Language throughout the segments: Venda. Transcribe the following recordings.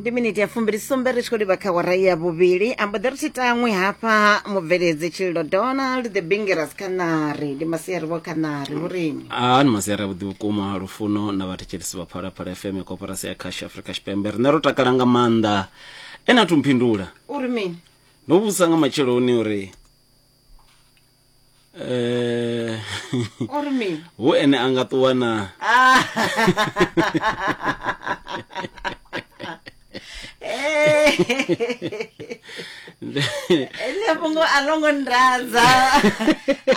Ndi miniti ya 27 ri tshi khou livha kha wara ya vhuvhili. Ambo ḓi ri tshi taṅwe hafha mubveledzi Tshililo Donald the Bingeras Khanari. Ndi masiari vho Khanari, hu rini? A ni masiari avhuḓi vhukuma Lufuno na vhathetshelesi vha Phalaphala FM ya Koporasi ya Khasho Afrika Tshipembe. Riṋe ro takala nga maanḓa. Ene a thu mphindula. Uri mini? Ndo vhudzisa nga matsheloni uri eh Uri mini? hu ene a nga ṱuwa na Ah. Heḽi fhungo a ḽo ngo ndadza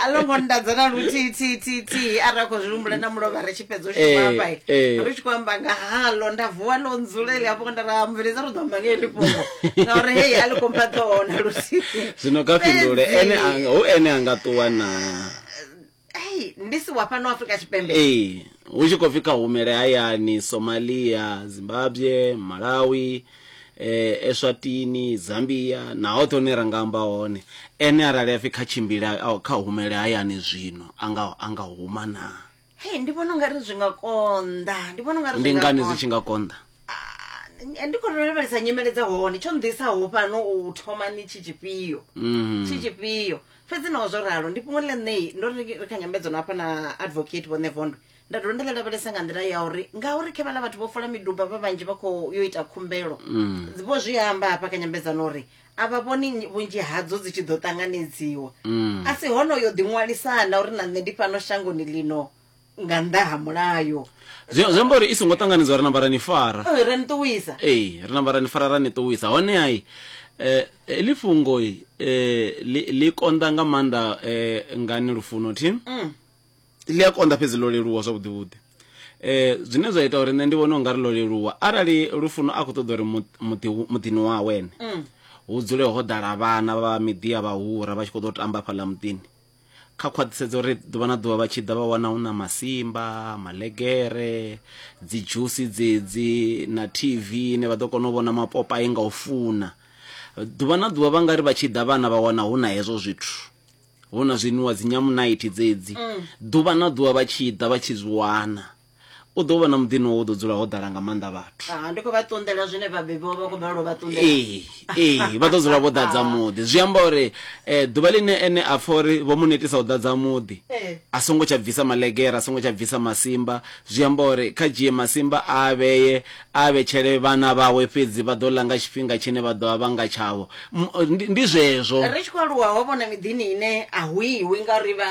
a ḽo ngo ndadza na luthihi thihi thihi thihi arali khou zwi humbula na mulovha ri tshi fhedza u shuma Eh, hafha eh. ri tshi khou amba nga haḽo nda vuwa ḽo ndzula heḽi hafho nda ra mveledza ri ḓo amba nga heḽi fhungo ngauri hei a ḽi khou mpha ṱhoho na luthihi zwino kha fhindule Fhedzi, ene anga hu ene a nga ṱuwa na ei ndi si wa fhano Afrika Tshipembe ee hu tshi khou pfi kha humele hayani Somalia Zimbabwe Malawi eh, Eswatini Zambia na hoṱhe hune ra nga amba hone ene arali a pfi kha tshimbile au, kha humele hayani zwino anga anga huma na Hei ndi vhona ungari zwi nga konḓa ndi vhona ungari ndi zwi nga ngani zwi konḓa tshi nga konḓa Ah, ndi khou lavhelesa nyimele dza hone tsho nḓisaho fhano u thoma ni tshi tshifhio tshi tshifhio fhedzi naho zwo ralo ndi fhungo ḽa nṋe ndo ri ri kha nyambedzano hafha na advocate vho Nevondwe nda dovha nda ḽi lavhelesa nga nḓila ya uri ngauri khe vhaḽa vhathu vho fola miduba vha vhanzhi vha khou yo ita khumbelo vho zwi amba hafha kha nyambedzano uri a vha vhoni vhunzhi hadzo dzi tshi ḓo ṱanganedziwa a si honoyo ḓiṅwalisana uri na nṋe ndi fhano shangoni ḽino nga nnḓa ha mulayo zwi zwi amba uri i songo ṱanganedziwa ri namba ra ni fara Oi, ra ni ṱuwisa ee ri namba ra ni fara ra ni ṱuwisa hone ai eh heḽi fhungo eh ḽi ḽi konḓa nga maanḓa eh ngani lufuno thi ḽi a konḓa fhedzi ḽo leluwa zwavhuḓi vhuḓi eh zwine zwa ita uri nṋe ndi vhone ungari ḽo leluwa arali lufuno a khou ṱoḓa uri muḓi muḓini wawe ene hu dzule ho ḓala vhana vha miḓi ya vhahura vha tshi khou ḓo tamba hafhaḽa muḓini kha khwaṱhisedza uri ḓuvha na ḓuvha vha tshi ḓa vha wana hu na masimba malegere dzi dzhusi dzedzi na tv ine vha ḓo kona u vhona mapopai nga u funa ḓuvha na ḓuvha vha nga ri vha tshi ḓa vhana vha wana hu na hezwo zwithu hu na zwinwiwa dzi nyamunaithi dzedzi ḓuvha na ḓuvha vha tshi ḓa vha tshi zwi wana u ḓo vhona muḓini wawe u ḓo dzula ho ḓala nga maanḓa vhathu Ah, ndi khou vha ṱunḓela zwine vhabebi vho vha khou balelwa u vha ṱunḓela ee ee vha ḓo dzula vho ḓadza muḓi zwi amba uri um ḓuvha ḽine ene a pfa uri vho mu netisa u ḓadza muḓi Ee. a songo tsha bvisa malegere a songo tsha bvisa masimba zwi amba uri kha dzhie masimba a vhee a vhetshele vhana vhawe fhedzi vha ḓo ḽa nga tshifhinga tshine vha ḓo vha vha nga tshavho Ndi zwezwo ri tshi khou aluwa ho vhona miḓini ine a hu iwi ngauri vha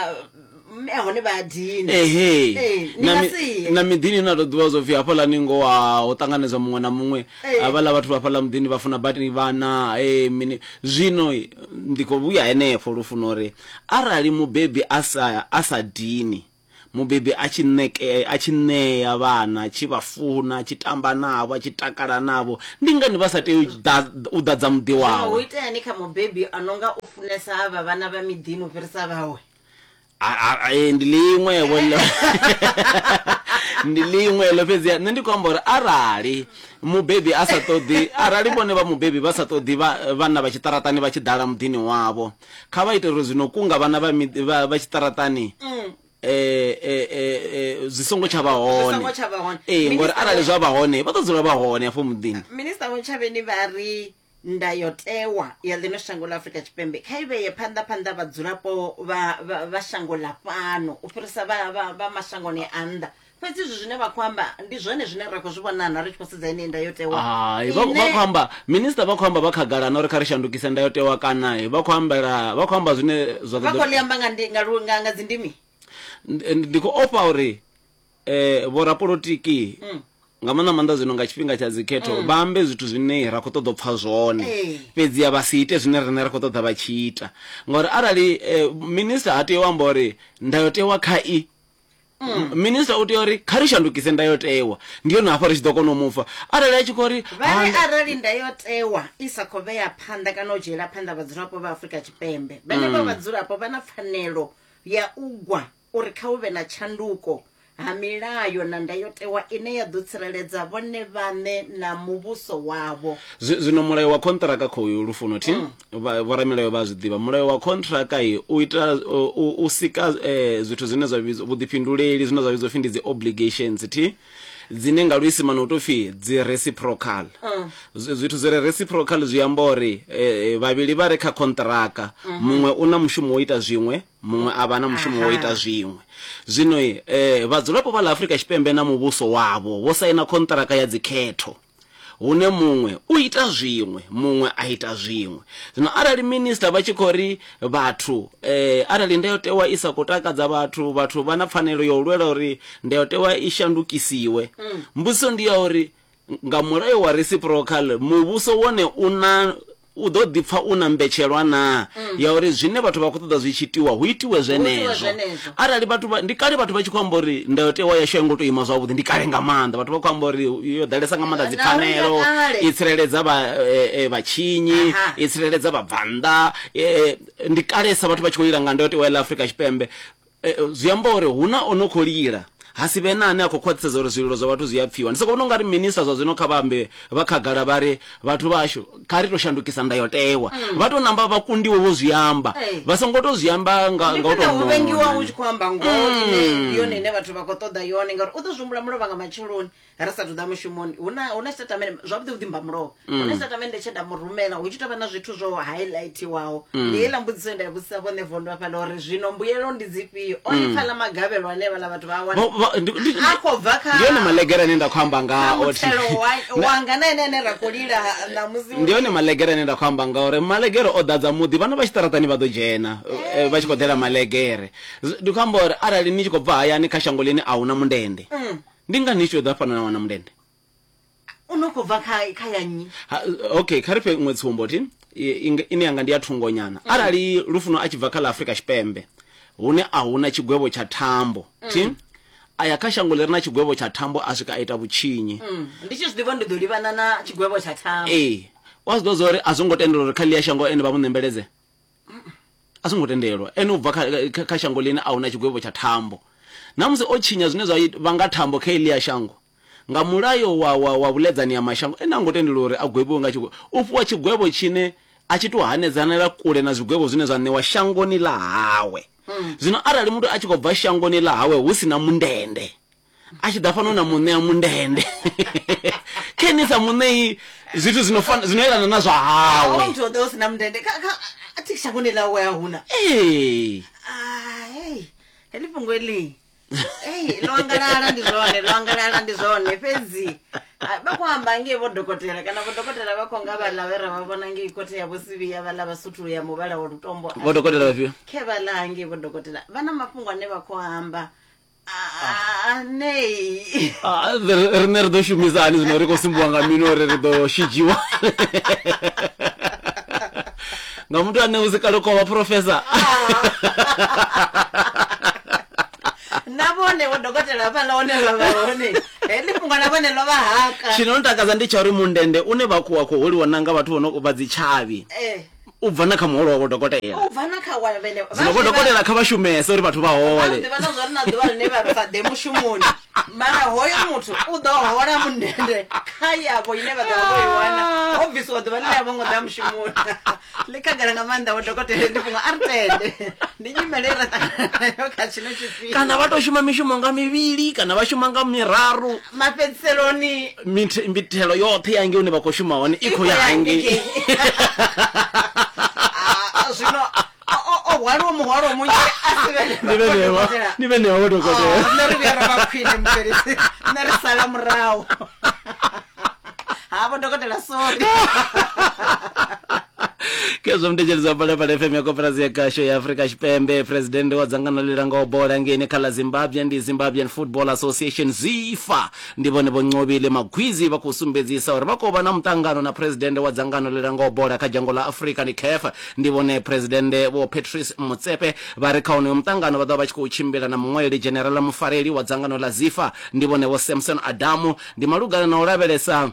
mme a hone vha a dina ehe Ee, ni na nga mi- si ye. na miḓini na to ḓivha zwo pfi hafhaḽani ngoho ha ho ṱanganedzwa muṅwe na muṅwe Ee. havhaḽa vhathu vha fhaḽa muḓini vha funa badi vhana e mini zwino ndi khou vhuya henefho lufuno uri arali mubebi a sa a sa dini mubebi a tshi ṋeke a tshi ṋea vhana a tshi vha funa a tshi tamba navho a tshi takala navho ndi ngani vha sa tei u ḓa- u ḓadza muḓi Zwino hu wawe iteani kha mubebi a no nga u funesa avha vhana vha miḓini u fhirisa vhawe Ndi ḽiṅwe vho ḽo ndi ḽiṅwe ḽo fhedzi nṋe ndi khou amba uri arali mubebi a sa ṱoḓi arali vhone vha mubebi vha sa ṱoḓi vhana vha tshiṱaratani vha tshi ḓala muḓini wavho kha vha ite uri zwino kunga vhana vha vha tshiṱaratani zwi songo tsha vha hone ee ngori arali zwa vha hone vha ḓo dzula vha hone hafho muḓini. Minisiṱa Vho Ntshavheni vha ri Ndayotewa ya ḽino shango ḽa Afrika Tshipembe kha i vhee phanḓa phanḓa vhadzulapo vha, vha, vha shango ḽa fhano u fhirisa vha, vha, vha mashangoni a nnḓa. Fhedzi izwi zwine vha khou amba ndi zwone zwine ra khou zwi vhona na ri tshi khou sedza yeneyi ndayotewa Hai, vha vha ine khou amba minisiṱa vha khou amba vha khagala na uri kha ri shandukise ndayotewa kana vha khou ambela vha khou amba zwine zwa vha ḓo khou ḽi amba nga, ndi, nga, lu- nga, nga dzindimi. ndi khou ofha uri eh vhorapolotiki mm. nga maanḓa maanḓa zwino nga tshifhinga tsha dzikhetho mm. vha ambe zwithu zwine ra khou ṱoḓa u pfa zwone eh. fhedzi a vha si ite zwine riṋe ra khou ṱoḓa vha tshi ita ngauri arali eh, minista ha tea u amba uri ndayotewa kha i mm. minista u tea uri kha ri shandukise ndayotewa ndi yone hafha ri tshi ḓo kona u mupfa arali a tshi khou ri vha ri arali ndayotewa i sa khou vhea phanḓa kana u dzhiela phanḓa vhadzulapo vha Afrika Tshipembe vhenevho mm. vhadzulapo vha na pfanelo ya u gwa uri kha hu vhe na tshanduko ha milayo na ndayotewa ine ya ḓo tsireledza vhone vhaṋe na muvhuso wavho. Zwino mulayo wa khonṱhiraka khoyu Lufuno thi, vha, vhoramilayo vha a zwi ḓivha. Mulayo wa khonṱhiraka u ita, u, u sika zwithu zwine zwa vhidzwa vhuḓifhinduleli, zwine zwa vhidzwa upfi ndi dzi obligations thi. dzine nga luisimane u tou pfi dzi reciprocal. Zwithu zwi re reciprocal zwi amba uri vhavhili vha re kha konṱiraka, muṅwe u na mushumo wo ita zwiṅwe, muṅwe a vha na mushumo wo ita zwiṅwe. Zwino vhadzulapo vha ḽa Afrika Tshipembe na muvhuso wavho vho saina konṱiraka ya dzikhetho, hune muṅwe u ita zwiṅwe, muṅwe a ita zwiṅwe. Zwino arali minisiṱa vha tshi khou ri vhathu arali ndayotewa i sa khou takadza vhathu, vhathu vha na pfanelo ya u lwela uri ndayotewa i shandukisiwe, mbudziso ndi ya uri nga mulayo wa reciprocal muvhuso wone u na u ḓo ḓipfa u na mbetshelwa naa ya uri zwine vhathu vha khou ṱoḓa zwi tshi itiwa hu itiwe zwenezwo. Zwenezwo. Arali vhathu vha, ndi kale vhathu vha tshi khou amba uri ndayotewa yashu a i ngo tou ima zwavhuḓi, ndi kale nga maanḓa vhathu vha khou amba uri yo ḓalesa nga maanḓa Na uri ya dzipfanelo, kale. i tsireledza vha vhatshinyi, Aha. i tsireledza vhabvannḓa, ndi kalesa vhathu vha tshi khou lila nga ndayotewa ya ḽa Afrika Tshipembe. Zwi amba uri hu na o no khou lila, ha si vhe na ane a khou khwaṱhisedza uri zwililo zwa vhathu zwi a pfiwa. Ndi sokou vhona u nga ri minisiṱa zwa zwino kha vha ambe vha khagala vha ri, Vhathu vhashu, kha ri tou shandukisa ndayotewa. Vha tou namba vha kundiwe vho zwi amba, vha songo tou zwi amba nga Ndi nga u khwine tou u vhengiwa nona. u tshi khou amba ngoho ine ndi yone ine vhathu vha khou ṱoḓa yone, ngauri u ḓo zwi humbula mulovha nga matsheloni ri sathu ḓa mushumoni. Hu na hu na tshitatamennde zwavhuḓi vhuḓi mba mulovha, hu na tshitatamennde tshe nda mu rumela hu tshi tou vha na zwithu zwo highlightiwaho. Ndi heiḽa mbudziso ye nda i vhudzisa vhone vondo hafhaḽa uri zwino mbuyelo ndi dzifhio. O ni pfa ḽa magavhelo ane vhaḽa vhathu vha a wana Vho- vho- ndi- ndi- a khou bva kha ndi yone malegere ane nda khou amba kha ngao. muthelo wa- wanga na ene ane ra khou lila ṋamusi Ndi yone malegere ane nda khou amba ngauri malegere o ḓadza muḓi, vhana vha tshiṱaraṱani vha ḓo dzhena vha tshi khou ḓela malegere. Ndi khou amba uri arali ni tshi khou bva hayani kha shango ḽine a hu na mundende, Ndi ngani ni tshi ḓa fhano na wana mundende? U no khou bva kha kha ya nnyi? Ha, okay, kha ri fhe iṅwe tsumbo thi ine yanga ndi ya thungonyana. Mm. Arali Lufuno a tshi bva kha ḽa Afrika Tshipembe hune a huna tshigwevho tsha thambo mm. thi a ya kha shango ḽi re na tshigwevho tsha thambo a swika a ita vhutshinyi. Mm. Ndi tshi zwi ḓivha ndi ḓo livhana na tshigwevho tsha thambo. Ee, wa zwi ḓivha zwa uri a zwo ngo tendelwa uri kha ḽia shango ene vha mu ṋembeledze. A zwo ngo tendelwa. Ene u bva kha, kha, kha shango ḽine a hu na tshigwevho tsha thambo. Na musi o tshinya zwine zwa vhanga thambo kha heḽia shango, nga mulayo wa, wa, wa vhuḽedzani ha mashango, ene ha ngo tendelwa uri a gwevhiwe nga tshigwevho. U fhiwa tshigwevho tshine a tshi tou hanedzanela kule na zwigwevho zwine zwa ṋewa shangoni ḽa hawe. Zwino arali muthu a tshi khou bva shangoni ḽa hawe hu si na mundende, a tshi ḓa fhano na mu ṋea mundende khe ni sa mu ṋei zwithu zwino fana zwino elana na zwa hawe muthu o ḓa u si na mundende kha kha a thi shangoni ḽawe a huna ee ah hey heḽi fhungo heḽi ei ḽo angalala ndi zwone ḽo angalala ndi zwone fhedzi vha khou amba ngei vho dokotela kana vho dokotela vha khou nga vhaḽa vhe ra vha vhona ngei khothe ya vhosivhiya vhaḽa vha suthu ya muvhala wa lutombo vho dokotela vhafhio khe vhaḽa hangei vho dokotela vha na mafhungo ane vha khou amba Nei. Ah, riṋe ri ḓo shumisa hani zwino ri khou sumbiwa nga mini uri ri ḓo shidzhiwa nga muthu ane hu si kale khou vha professor na vhone vho dokotela hafhaḽa hone vha vha hone heḽi fhungo na vhone ḽo vha haka tshino ntakadza ndi tsha uri mundende une vha khou wa khou holiwa na nga vhathu vho no vha dzitshavhi Eh. u bva na kha muholo wa vho dokotela u bva na kha wa vhene zwino vho dokotela kha vha shumese uri vhathu vha hole ḓivha na zwori na ḓuvha ḽine vha sa ḓe mushumoni mara hoyo muthu u ḓo hola mundende kha yavho ine vha ḓo vha vho i wana ho bvisiwa ḓuvha ḽine a vho ngo ḓa mushumoni ḽi khagala nga maanḓa vho dokotela ndi fhungo a ri tende ndi nyimele ra ṱangana nayo kha tshino tshifhinga kana vha tou shuma mishumo nga mivhili kana vha shuma nga miraru mafhedziseloni mithelo yoṱhe ya ngei hune vha khou shuma hone i khou ya hangei ah, zwino o hwaliwa muhwalo munzhi a si ni vhenewa vho dokotela oh, nṋe ri vhuya ra vha khwine mubvelisi nṋe ri sala murahu ha vho dokotela sorry Khezwo mutetshelezi wa Phalaphala FM ya Koporasi ya Khasho ya Afrika Tshipembe, presidennde wa dzangano ḽi langaho bola ngeini kha ḽa Zimbabwe ndi Zimbabwean Football Association ZIFA. Ndi vhone Vho Nqobile Magwizi vha khou sumbedzisa uri vha khou vha na muṱangano na presidennde wa dzangano ḽi langaho bola kha dzhango ḽa Afrika ndi CAF. Ndi vhone presidennde Vho Patrice Motsepe vha re kha wonoyo muṱangano vha ḓo vha vha tshi khou tshimbila na muṅwaleli dzhenerala mufareli wa dzangano ḽa ZIFA ndi vhone Vho Samson Adamu. Ndi malugana na u lavhelesa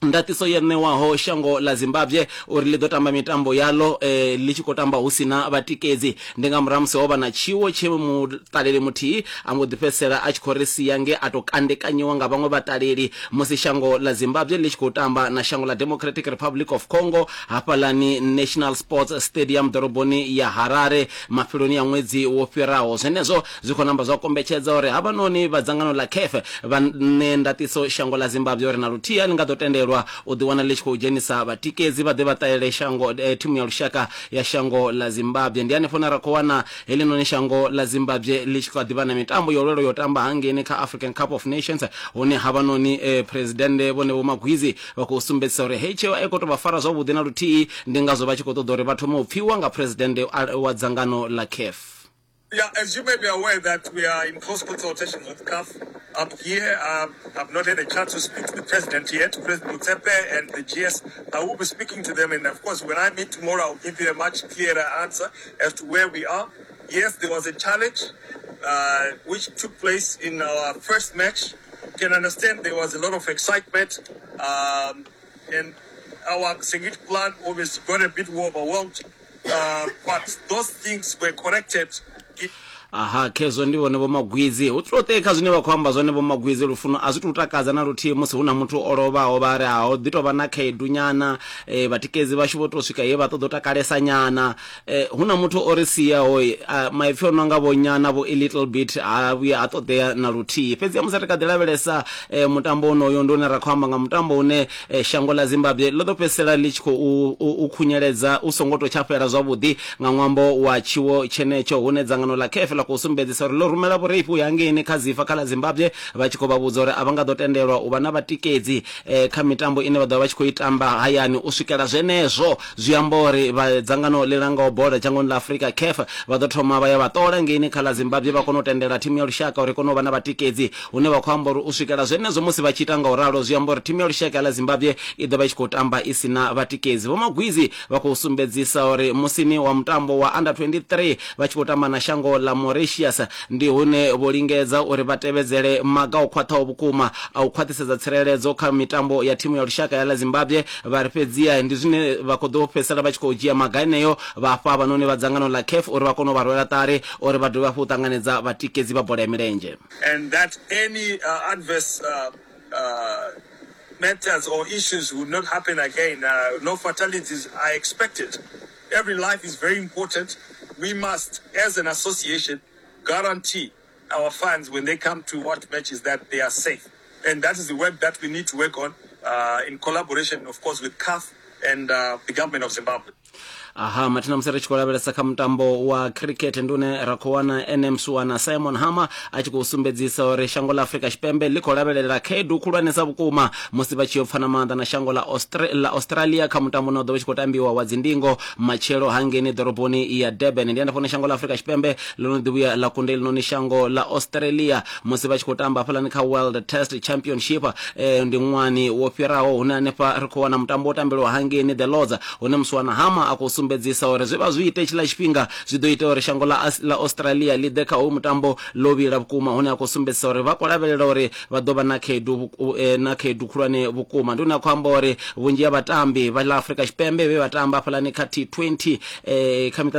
Ndaṱiso yo ṋewaho shango ḽa Zimbabwe uri ḽi ḓo tamba mitambo yaḽo ḽi tshi khou tamba hu si na vhatikedzi. Ndi nga murahu ha musi ho vha na tshiwo tshe muṱaleli muthihi a mbo ḓi fhedzisela a tshi khou ri sia nge a tou kandekanyiwa nga vhaṅwe vhaṱaleli musi shango ḽa Zimbabwe ḽi tshi khou tamba na shango ḽa Democratic Republic of Congo hafhaḽani National Sports Stadium ḓoroboni ya Harare mafheloni a ṅwedzi wo fhiraho. Zwenezwo Zwi khou namba zwa kombetshedza uri havhanoni vha dzangano ḽa CAF vha ṋee ndaṱiso shango ḽa Zimbabwe uri na luthihi a ḽi nga ḓo tendelwa u ḓiwana ḽi tshi khou dzhenisa vhatikedzi vha ḓe vha ṱalele shango thimu ya lushaka ya shango ḽa Zimbabwe. Ndi hanefho hune ra khou wana heḽinoni shango ḽa Zimbabwe ḽi tshi kha ḓi vha na mitambo yo lwelwa yo tamba hangeini kha African Cup of Nations hune havhanoni Phresidennde Vho Nebo Magwizi vha khou sumbedzisa uri heyi tsheo a i khou tou vha fara zwavhuḓi na luthihi ndi ngazwo vha tshi khou ṱoḓa uri vha thome u pfiwa nga Phresidennde wa dzangano ḽa CAF. Yeah, as you may be aware that we are in close consultations with CAF. I'm here. I've not had a chance to speak to the president yet, President Motsepe and the GS. I will be speaking to them. And of course, when I meet tomorrow, I'll give you a much clearer answer as to where we are. Yes, there was a challenge which took place in our first match. You can understand there was a lot of excitement. And our security plan obviously got a bit overwhelmed. But those things were corrected. Aha, khezwo ndi vhone Vho-Magwizi. Hu tou ṱee kha zwine vha khou amba zwone Vho-Magwizi, lufuno a zwi tou takadza na luthihi musi hu na muthu o lovhaho vha ri ha ho ḓi tou vha na khaedu nyana, e, vhatikedzi vhashu vho tou swika he vha ṱoḓa u takalesa nyana. E, hu na muthu o ri siaho, a, maipfi o no nga vho nyana vho a little bit ha vhuya ha ṱoḓea na luthihi. Fhedzi musi ri kha ḓi lavhelesa e, mutambo wonoyo ndi une ra khou amba nga mutambo une Shango ḽa Zimbabwe ḽo ḓo fhedzisela ḽi tshi khou u khunyeledza u songo tou tsha fhela zwavhuḓi nga ṅwambo wa tshiwo tshenetsho hune dzangano ḽa CAF ḽa khou sumbedzisa uri ḽo rumela vhureifhi u ya hangeini kha Zifa kha ḽa Zimbabwe vha tshi khou vha vhudza uri a vha nga ḓo tendelwa u vha na vhatikedzi kha mitambo ine vha ḓo vha vha tshi khou i tamba hayani u swikela zwenezwo. Zwi amba uri vha dzangano ḽi langaho bola dzhangoni ḽa Afrika, CAF, vha ḓo thoma vha ya vha ṱola ngeini kha ḽa Zimbabwe vha kona u tendela thimu ya lushaka uri i kone u vha na vhatikedzi hune vha khou amba uri u swikela zwenezwo musi vha tshi ita nga u ralo zwi amba uri thimu ya lushaka ya ḽa Zimbabwe i ḓo vha i tshi khou tamba i si na vhatikedzi. Vho Magwizi vha khou sumbedzisa uri musini wa mutambo wa Under 23 vha tshi khou tamba na shango ḽa Mauritius ndi hune vho lingedza uri vha tevhedzele maga o khwaṱhaho vhukuma a u khwaṱhisedza tsireledzo kha mitambo ya thimu ya lushaka ya ḽa Zimbabwe vha ri fhedziha ndi zwine vha khou ḓo fhedzisela vha tshi khou dzhia maga eneo vha fha havhanoni vha dzangano ḽa CAF uri vha kone u vha rwela ṱari uri vha dovhe hafhu u ṱanganedza vhatikedzi vha bola ya milenzhe. And that any adverse matters or issues would not happen again. No fatalities are expected. Every life is very important. We must, as an association, guarantee our fans when they come to watch matches that they are safe. And that is the work that we need to work on in collaboration, of course, with CAF and the government of Zimbabwe. Aha, mathina musi ri tshi khou lavhelesa kha mutambo wa cricket ndi une ra khou wana ene Msuwana Simon Harmer a tshi khou sumbedzisa uri shango ḽa Afrika Tshipembe ḽi khou lavhelela khaedu khulwanesa vhukuma musi vha tshi yo pfana maanḓa na shango ḽa Austra ḽa Australia kha mutambo une wa ḓo vha tshi khou tambiwa wa dzindingo matshelo hangeini ḓoroboni ya Durban. Ndi hanefho hune shango ḽa Afrika Tshipembe ḽo no ḓi vhuya ḽa kunda heḽinoni shango ḽa Australia musi vha tshi khou tamba hafhaḽani kha World Test Championship eh, ndi ṅwani wo fhiraho hune hanefha ri khou wana mutambo wo tambelwa hangeini The Lords hune Muswana Hama a khou sumbedzisa uri zwe vha zwi ite tshiḽa tshifhinga zwi ḓo ita uri shango ḽa ḽa Australia ḽi ḓe kha hoyu mutambo ḽo vhila vhukuma hune a khou sumbedzisa uri vha khou lavhelela uri vha ḓo vha na khaedu na khaedu khulwane vhukuma. Ndi hune a khou amba uri vhunzhi ha vhatambi vha ḽa Afrika Tshipembe vhe vha tamba hafhaḽani kha T20 kha miṱa